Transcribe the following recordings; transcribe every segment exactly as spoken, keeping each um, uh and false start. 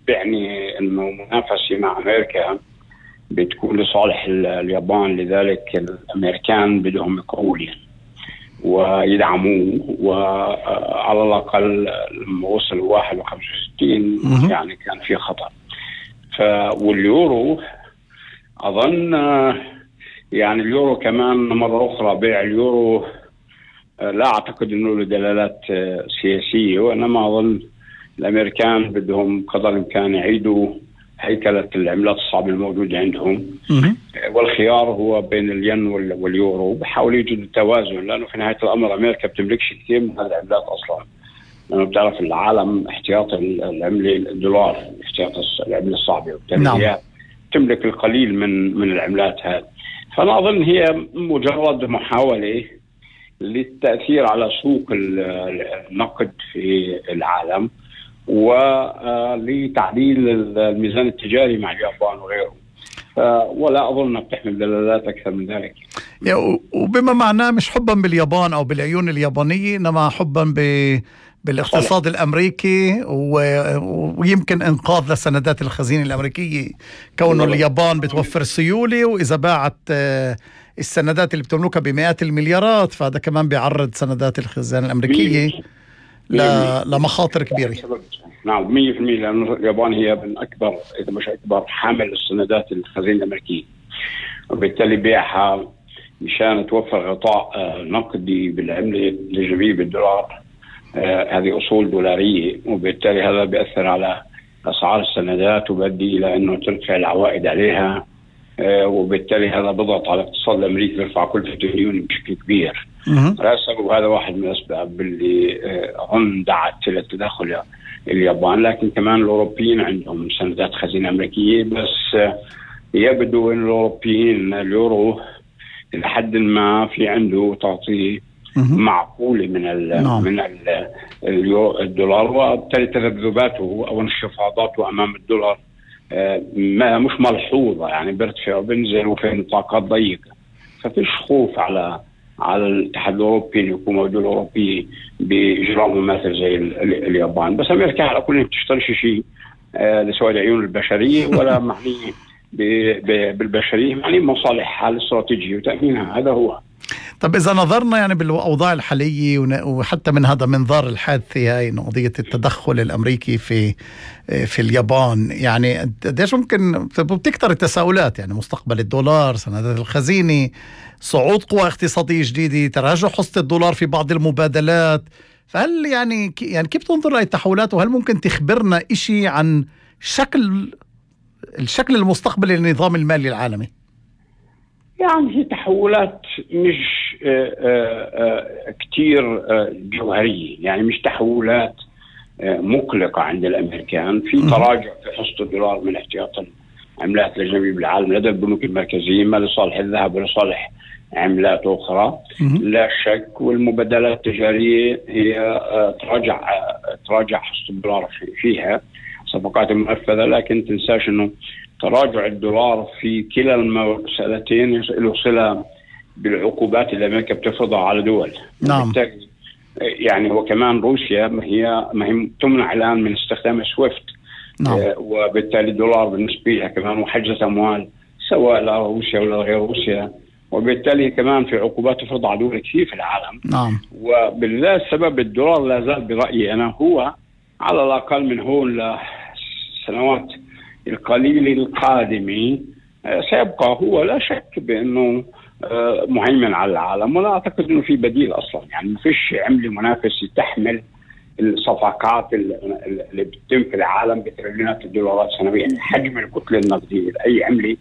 بيعني انه منافسه مع امريكا بتكون لصالح اليابان، لذلك الامريكان بدهم يقووا ويدعموه، وعلى الاقل لما وصل واحد وخمسة وستين يعني كان في خطر. ف واليورو اظن يعني اليورو كمان مره اخرى بيع اليورو لا اعتقد انه له دلالات سياسيه، وانما اظن الامريكان بدهم قدر الامكان يعيدوا هيكله العملات الصعبه الموجوده عندهم، والخيار هو بين الين واليورو، بحاولوا يجدوا توازن، لانه في نهايه الامر امريكا بتملكش كثير من هذه العملات اصلا، لانه بتعرف العالم احتياط العمله الدولار، احتياط العمله الصعبه، وبالتالي نعم. هي تملك القليل من من العملات هذه. فانا اظن هي مجرد محاوله للتاثير على سوق النقد في العالم، ولتعديل الميزان التجاري مع اليابان وغيره، ولا أظن بتحمل دلالات أكثر من ذلك. وبما معناه مش حبا باليابان أو بالعيون اليابانية، إنما حبا ب بالاقتصاد صحيح. الأمريكي، ويمكن إنقاذ لسندات الخزينة الأمريكية، كونه اليابان بتوفر سيولة، وإذا باعت السندات اللي بتملكها بمئات المليارات فهذا كمان بيعرض سندات الخزانة الأمريكية لمخاطر كبيرة. نعم مية في المية، لأن اليابان هي من أكبر إذا مش أكبر حامل السندات الخزينة الأمريكية، وبالتالي بيعها مشان توفر غطاء نقدي بالعملة الأجنبية بالدولار. آه هذه أصول دولارية، وبالتالي هذا بيأثر على أسعار السندات وبيؤدي إلى أنه ترفع العوائد عليها، آه وبالتالي هذا بضغط على الاقتصاد الأمريكي، بيرفع كلفة الديون بشكل كبير. هذا واحد من الأسباب اللي أظن دعت إلى التدخل اليابان، لكن كمان الأوروبيين عندهم سندات خزينة أمريكية، بس يبدو أن الأوروبيين اليورو إلى حد ما في عنده تعطيه معقولة من ال نعم. من ال الدولار، وبالتالي تذبذباته أو انخفاضاته أمام الدولار ما مش ملحوظة، يعني بيرتفع وبينزل وفي نطاقات ضيقة، ففيش خوف على على الاتحاد الأوروبي أن يكون موجود الأوروبي بإجراء مماثل زي اليابان. بس أمريكا على كل بتشتري شيء آه لسواد عيون البشرية ولا معني بالبشرية، معني مصالحها الاستراتيجية وتأمينها، هذا هو. طب إذا نظرنا يعني بالأوضاع الحالية وحتى من هذا منظار الحادثة هاي قضية التدخل الأمريكي في في اليابان، يعني قديش ممكن بتكتر التساؤلات، يعني مستقبل الدولار، سندات الخزينة، صعود قوى اقتصادية جديدة، تراجع حصة الدولار في بعض المبادلات، فهل يعني يعني كيف تنظر لهي التحولات، وهل ممكن تخبرنا إشي عن شكل الشكل المستقبلي للنظام المالي العالمي؟ يعني هي تحولات مش آآ آآ كتير جوهرية، يعني مش تحولات مقلقة عند الأمريكان. في تراجع في حصة الدولار من احتياط العملات الأجنبية بالعالم لدى البنوك المركزية، ما لصالح الذهب ولصالح عملات أخرى لا شك، والمبادلات التجارية هي تراجع تراجع حصة الدولار فيها صفقات منفذة، لكن تنساش إنه تراجع الدولار في كلا المسألتين له صلة بالعقوبات اللي أمريكا بتفرضها على دول. نعم. يعني هو كمان روسيا ما هي ما هي تمنع الآن من استخدام سويفت. نعم. وبالتالي الدولار بالنسبة لها كمان محجزة أموال سواء لروسيا ولا غير روسيا، وبالتالي كمان في عقوبات تفرض على دول كثير في العالم. نعم. وبالذات سبب الدولار لا زال برأيي أنا هو على الأقل من هون لسنوات القليل القادمة سيبقى هو لا شك بأنه مهيمن على العالم، ولا أعتقد أنه في بديل أصلا. يعني ما فيش عملة منافسة تحمل الصفقات اللي بتتم في العالم بتريليونات الدولارات سنويا، حجم الكتلة النقدية لأي عملة،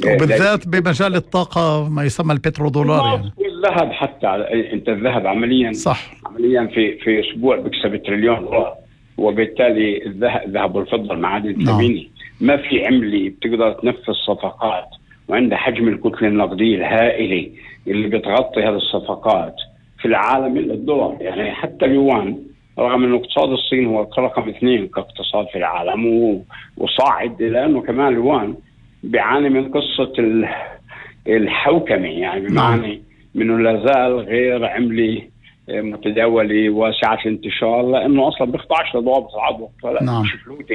وبالذات بمجال الطاقة ما يسمى البترودولار يعني. والذهب حتى، أنت الذهب عمليا صح. عمليا في في أسبوع بيكسب تريليون دولار، وبالتالي الذهب الذهب والفضة المعادن الثمينة ما في عملة بتقدر تنفذ صفقات وعندها حجم الكتلة النقدية الهائلة اللي بتغطي هذه الصفقات في العالم إلا الدولار. يعني حتى اليوان رغم أنه اقتصاد الصين هو رقم اثنين كاقتصاد في العالم وصاعد، لأنه كمان اليوان بيعاني من قصة الحوكمة، يعني بمعنى منه لازال غير عملة متداولة واسعة الانتشار، لأنه أصلا بيخضعش لضوابط العضو، فلا نعم. مش فلوتنج.